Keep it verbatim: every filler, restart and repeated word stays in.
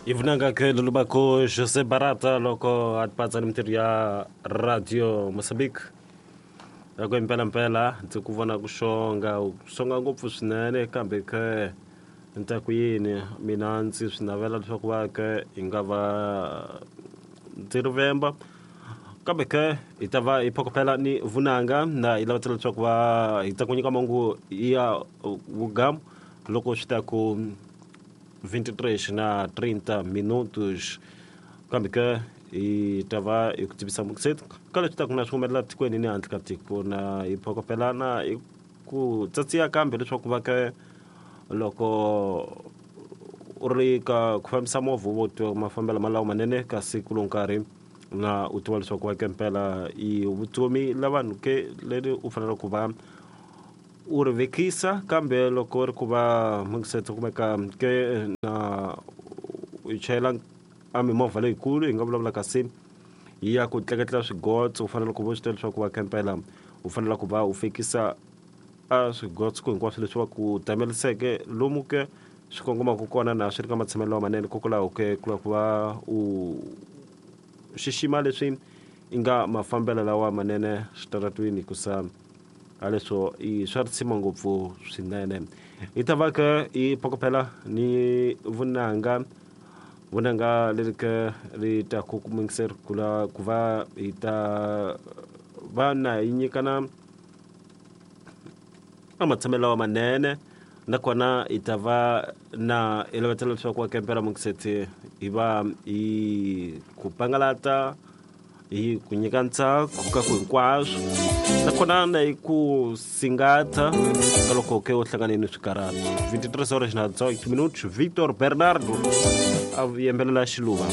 I vunanga ke lolubako José Barata loko a tipatsa ni mintirho ya Radio Mozambique. Loko impela mpela ndzi ku vona ku xonga u xonga ngopfu swinene kambe ke ni ta ku yini mina ndzi swi navela leswaku va ke hi nga va ndzi ri vemba kambe ke hi ta va hi phokopela ni vunanga na hi lavatela leswaku va hi ta ku nyika mahungu ya vugamu loko swi ta ku vinte e três na trinta minutos kambe ke hi ta va hi ku tivisa mukiseti ka leswi taku na swi humelela tikweni ni handle ka tiko na hi phokopelana hi ku tsatsiya kambe leswaku va ke loko u ri ka ku fambisa movha wo tiva mafambelo malawo manene kasi ku lowu nkarhi na u tiva leswaku va ke mpela i vutomi la vanhu ke leri u fanele ku va u ri vekisa kambe loko ri ku va mukiseti kumeka ke na u chayela a mimovha leyikulu hi nga vulavula kasi yi ya ku tleketla swigotso u fanele ku va u swi tiva leswaku va kempela u fanele ku va u fikisa a swigotso ku hinkwaswo leswi va ku tameliseke lomu ke swi kongomaka kona na swi ri ka matshamelo lamanene kokwalaho ke ku lava ku va u xixima leswi i nga mafambelo lawa manene switaratwini hikusa a leswo i swa risima ngopfu swinene hi ta va ke hi phokopela ni vunanga vunanga leri ke ri ta ku kumekiseri ku la ku va hi ta va na hi nyikana a matshamelo lawa manene nakona hi ta va na hi lavetela leswaku wa kempela mukiseti hi va hi ku pangalata hi ku nyika ntsako ka ku hinkwaswo nakona na hi ku singata ka loko ke u hlangane ni swikarhato vinte e três horas na dezoito minutos. Victor Bernardo a yimbelela Xiluva.